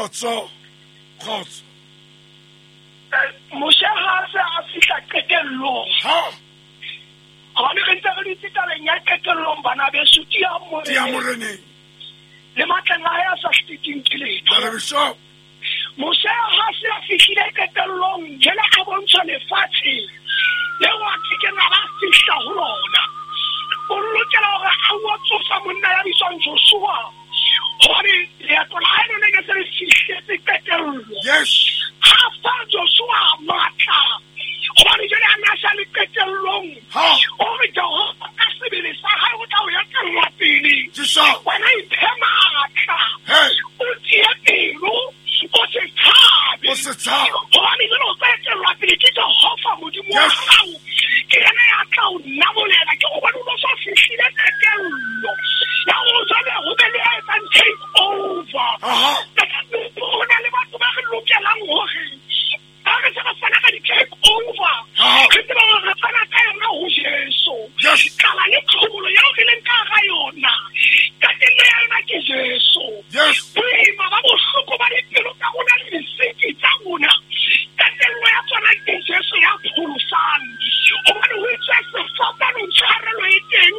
Kgotso, kgotso. Moshe ha a se a fihla qetellong. Ha. Gobane re ntse re dutse tabeng ya qetellong, bana beso, tiang Tiang Moreneng. Moreneng. Le matleng a hae a sa siteng ke letho. Jwale bishop. Moshe ha se a fihlile qetellong, jwale a bontshwa lefatshe leo a kekeng a ba fihla ho lona. O lokela hore a o tsosa monna ya bitswang Joshua, hobane leeto la hae lone ne se le fihletse qetello. Yes. Ha fa Joshua matla, hobane jwale a ne a sa le qetellong. Ha. O re Jehova ka sebele sa hae o tla o etella pele. Jesu. Wena iphe matla. Hey. O tie pelo, o se tshabe. O se tshabe. Hobane jwale o tla etellwa pele ke Jehova Modimo wa Yes. hao. Ke yena ya tla o namolela, ke hobane o no so fihlile qetello. Ya hore jwale ho be le ya etsang take over. Aha. Ho na le batho ba re lokelang hore ha re se re fana ka di-take over, Aha. re tseba hore re fana ka yona ho Jesu. Yes. Tlala le tlhobolo eo re leng ka hara yona, qetello ya yona ke Jesu. Yes. Boima ba bohloko ba dipelo tsa rona le disiki tsa rona, qetello ya tsona ke Jesu ya pholosang. Hobane ho itswe sefapanong tshwarelo e teng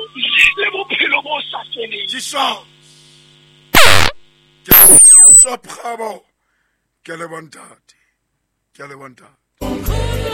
le bophelo bo sa feleng. Jesu. Ke Bishop Kgabo. Ke a leboha ntate. Ke a leboha ntate.